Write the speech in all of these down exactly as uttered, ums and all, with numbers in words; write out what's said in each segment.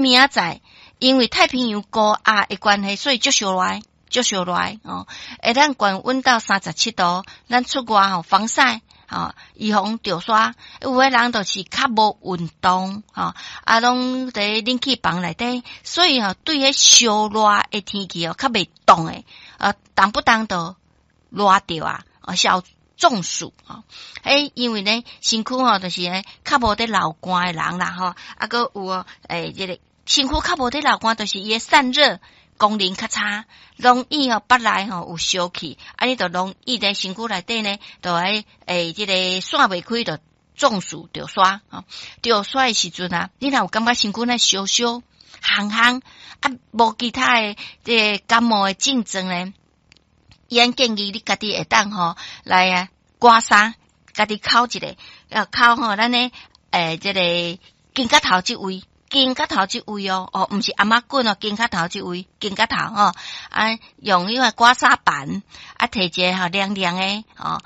明仔載因為太平洋高壓的關係，所以足燒熱，足燒熱哦。會當懸溫到三十七度，咱出外吼防曬，吼預防著沙。有的人就是較無運動，吼啊，攏佇冷氣房內底，所以吼對彼燒熱的天氣哦較袂凍的，啊，動不動就熱著啊，小中暑吼。欸，因為呢，身軀吼就是咧較無佇流汗的人啦，吼，啊，閣有哦，欸，這個身軀較無佇流汗，就是伊的散熱功能較差，容易吼腹內吼有燒氣，啊，你就容易佇身軀內底呢，就會欸，這個散袂開，就中暑著沙吼。著沙的時陣啊，你若有感覺身軀咧燒燒烘烘，啊，無其他的這個感冒的症狀呢，伊按建議你家己會當吼來啊刮痧，家己摳一下，啊摳吼咱的欸這個肩胛頭這位。肩胛頭這位哦，哦，毋是頷仔骨哦，肩胛頭這位，肩胛頭吼，啊，用彼個刮痧板，啊，提一个吼涼涼的，吼，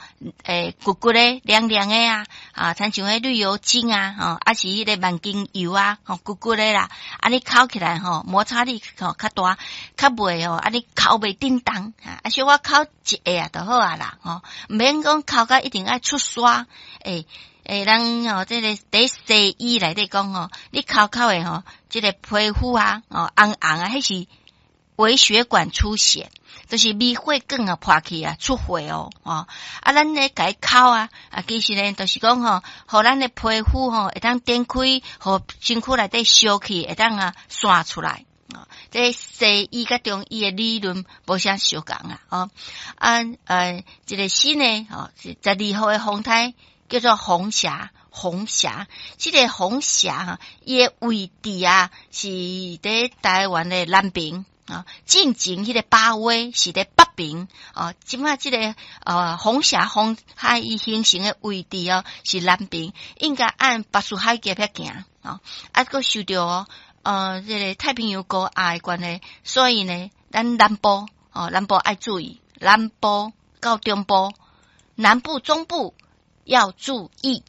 欸，骨骨的涼涼的啊，啊，親像彼綠油精啊，吼，啊是彼個萬金油啊，吼，骨骨的啦，啊，你摳起來吼，摩擦力吼較大，較袂吼，啊，你摳袂振動，啊，小可摳一下就好啊啦，吼，毋免講摳甲一定愛出沙，欸。欸，咱吼，這個佇西醫內底講吼，你摳摳的吼，這個皮膚啊，哦紅紅啊，彼是微血管出血，就是微血管啊破去啊出血哦，哦，啊，咱咧共伊摳啊，啊，其實呢，就是講吼，予咱的皮膚吼會當展開，予身軀內底燒氣會當啊散出來。哦，這西醫佮中醫的理論無啥相仝啊，哦，啊，呃，這個新的吼，十二號的風颱。叫做紅霞，紅霞，這個紅霞哈，伊的位置啊是佇台灣的南邊啊，進前彼個巴威是佇北邊哦，這擺這個呃紅霞風颱伊形成的位置哦是南邊，應該按巴士海峽遐行哦，啊，閣受著哦，呃，這個太平洋高壓的關係，所以呢，咱南部哦，南部愛注意，南部到中部，南部、中部。要注意。